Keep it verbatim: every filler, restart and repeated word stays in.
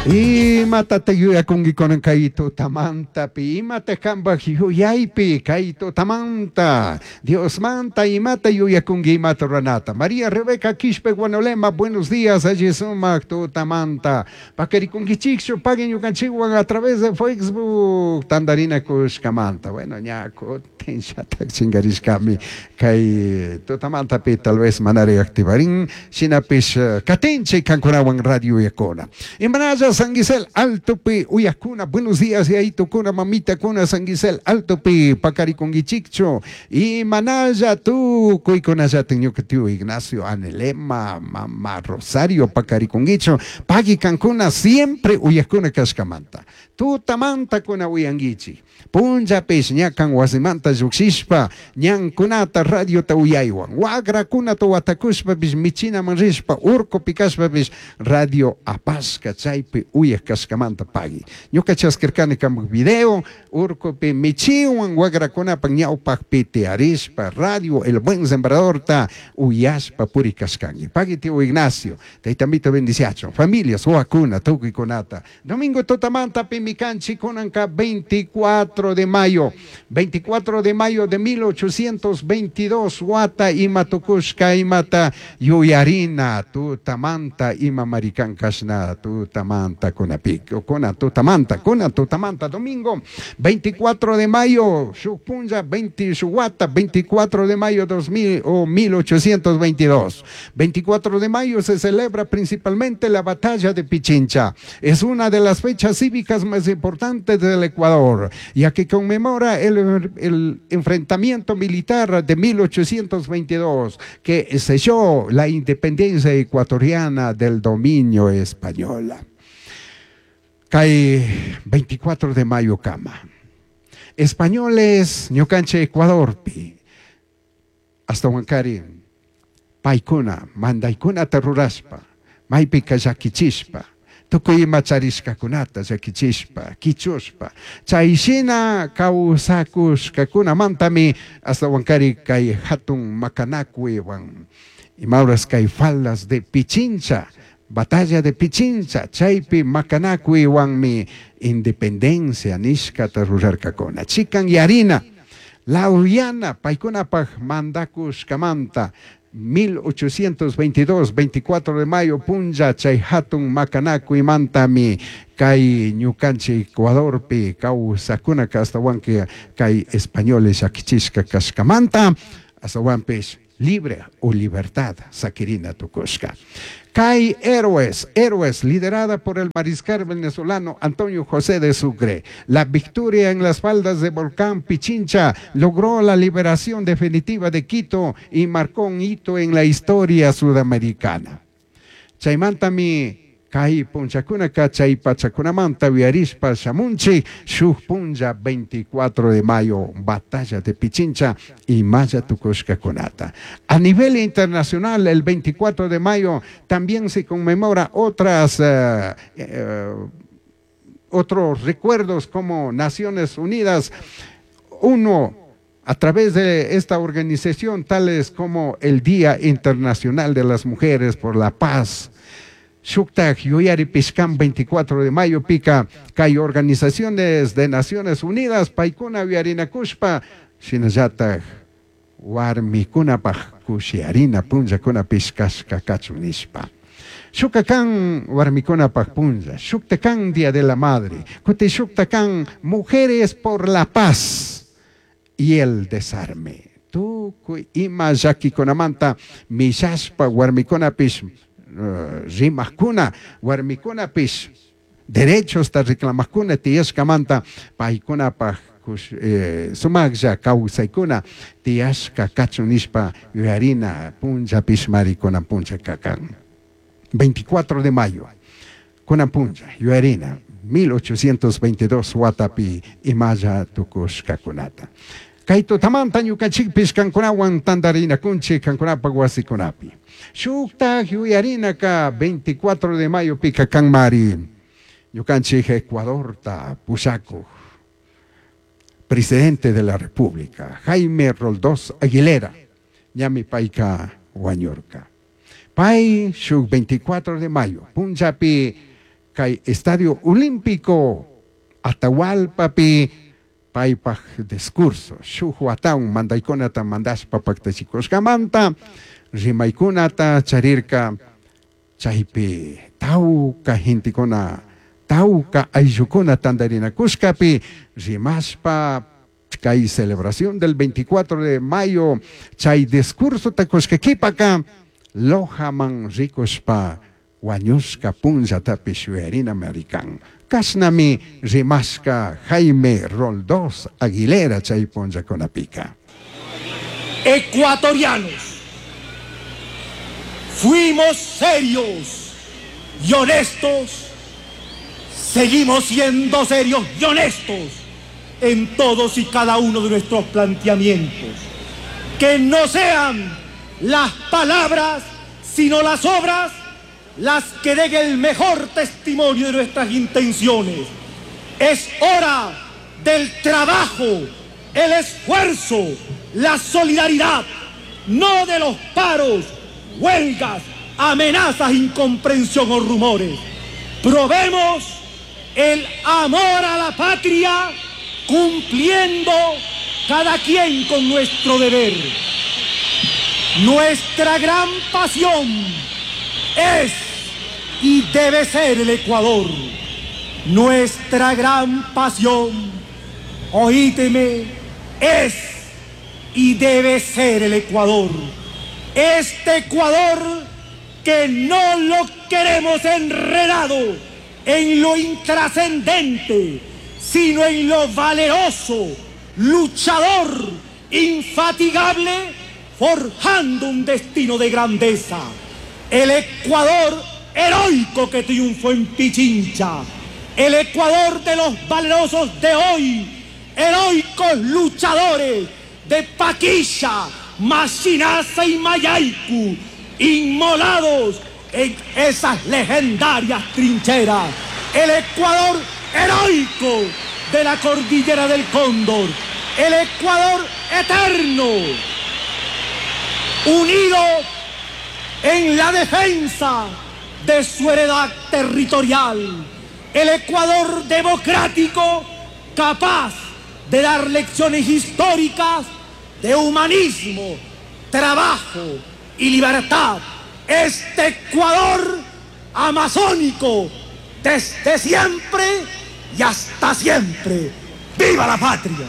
Imatataq yuyakunki kunan kay tutamantapi, imata kanpaq yuyaypi kay tutamanta, Diosmanta imata yuyakunki imata ruranata. María Rebeca Quispe Guanolema, buenos días, alli sumak tutamanta. Pakarikunkichikchu paguen ñukanchikwan a través de Facebook tandarina kushkamanta. Bueno, ña kutin shatak chinkarishkami kay tutamantapi tal vez manari activarin, shinapish katinchik kankunawan radio uyakuna. Imanalla San Gisel Altopi uyakuna, buenos días yaitukuna, mamitakuna, San Gisel Altopi pakarikunkichikchu. Imanalla tukuykunallatik ñuka tío Ignacio Anelema, mama Rosario pakarikunkichu. Pagui kankuna siempre uyakuna kashkamanta. Tutamanta kuna uyankichik. Punllapish ñakan wasimanta llukshishpa ñankunata radiota uyaywan. Wagrakunata watakushpapish michinaman rishpa urkupi kashpapish radio apashka chaypi uyak kashkamanta pagui. Ñuka chaskirkani kanpak video urkupi michiwan wagrakunapak ñawpakpi tiyarishpa radio El Buen Sembradorta uyashpa puri kashkanki. Pagui tío Ignacio, taytamito bendiciachun, familias, wawakuna, tukuykunata. Domingo tutamanta pimi kanchik kunanka veinticuatro de mayo, veinticuatro de mayo de mil ochocientos veintidós, wata ima tukushka imata yuyarina tutamanta ima marikan kashna tutamanta kunapi, kuna tutamanta, kuna tutamanta, domingo veinticuatro de mayo, shuk punlla, veinte, shuk wata, veinticuatro de mayo dos mil o mil ochocientos veintidós. veinticuatro de mayo se celebra principalmente la batalla de Pichincha. Es una de las fechas cívicas más importantes del Ecuador, ya que conmemora el, el enfrentamiento militar de mil ochocientos veintidós que selló la independencia ecuatoriana del dominio español. Cae veinticuatro de mayo kama. Españoles ñukanche Ecuadorpi hasta Huancari paykuna mandaykunata rurashpa maypika llakichishpa tukuy ima charishkakunata llakichishpa kichushpa chayshina kawsakushkakunamantami hasta Huancari kay hatun makanakuywan imauras kay faldas de Pichincha, batalla de Pichincha, chaypi makanakuywanmi independencia nishkata rurarkakuna. Chikan yarina, Lauyana, paykunapaj mandakushkamanta, mil ochocientos veintidós, veinticuatro de mayo, punlla, chay hatun makanakuymantami kay ñukanchik Ecuadorpi kawsakunaka hasta kay españoles llakichishka kashkamanta, hasta libre o libertad saquirina tukushka. Kay Héroes, Héroes, liderada por el mariscal venezolano Antonio José de Sucre. La victoria en las faldas de volcán Pichincha logró la liberación definitiva de Quito y marcó un hito en la historia sudamericana. Chaymantami kay punchakunaka chay pachakunamanta uyarishpa shamunchi shuk punlla veinticuatro de mayo, batalla de Pichincha y maya tukushkakunata. A nivel internacional, el veinticuatro de mayo también se conmemora otras, eh, eh, otros recuerdos como Naciones Unidas, uno a través de esta organización, tales como el Día Internacional de las Mujeres por la Paz. Shuktak yuyari pishkan veinticuatro de mayo pica kay organizaciones de Naciones Unidas paykuna yuyarinakushpa shinallatak warmikunapaj kushiarina punllakuna pishkashka kachun nishpa. Shukakan warmikunapaj punlla, shuktakan Día de la Madre, kuti shuktakan Mujeres por la Paz y el Desarme. Tukuy ima llakikunamanta mishashpa warmikunapish, eh, rimajkuna, warmikunapish derechos ta reclamajkuna tiyashkamanta paykunapaj kush, eh, sumaqlla kawsaykuna tiyashka kachun nishpa yuyarina punllapish marikunan punlla kakan. veinticuatro de mayo, kunan punlla, yuyarina, mil ochocientos veintidós watapi imalla tukushkakunata. Kay tutamanta ñukanchikpish kankunawan tantarinakunchik kankunapak wasikunapi. Shuktak yuyarinaka veinticuatro de mayo pika kanmari ñukanchik Ecuadorta pushakuj presidente de la República Jaime Roldós Aguilera ñami payka wañurka. Pay shuk veinticuatro de mayo punllapi kay Estadio Olímpico Atahualpapi paypaj discurso shuk watawan mandaykunata mandashpa paktachikushkamanta rimaykunata charirka chaypi tawka gentekuna tawka ayllukuna tantarinakushkapi rimashpa kay celebración del veinticuatro de mayo chay discursota kushka kipaka Lojaman rikushpa wañushka punllatapish yuyarinami rikan kashnami rimashka Jaime Roldós Aguilera chay punllakunapika. Ecuatorianos, fuimos serios y honestos, seguimos siendo serios y honestos en todos y cada uno de nuestros planteamientos. Que no sean las palabras, sino las obras, las que den el mejor testimonio de nuestras intenciones. Es hora del trabajo, el esfuerzo, la solidaridad, no de los paros, huelgas, amenazas, incomprensión o rumores. Probemos el amor a la patria cumpliendo cada quien con nuestro deber. Nuestra gran pasión es y debe ser el Ecuador. Nuestra gran pasión, oíteme, es y debe ser el Ecuador. Este Ecuador que no lo queremos enredado en lo intrascendente, sino en lo valeroso, luchador, infatigable, forjando un destino de grandeza. El Ecuador heroico que triunfó en Pichincha, el Ecuador de los valerosos de hoy, heroicos luchadores de Paquisha, Machinaza y Mayaicu, inmolados en esas legendarias trincheras. El Ecuador heroico de la cordillera del Cóndor, el Ecuador eterno, unido en la defensa de su heredad territorial, el Ecuador democrático capaz de dar lecciones históricas de humanismo, trabajo y libertad. Este Ecuador amazónico desde siempre y hasta siempre. ¡Viva la patria!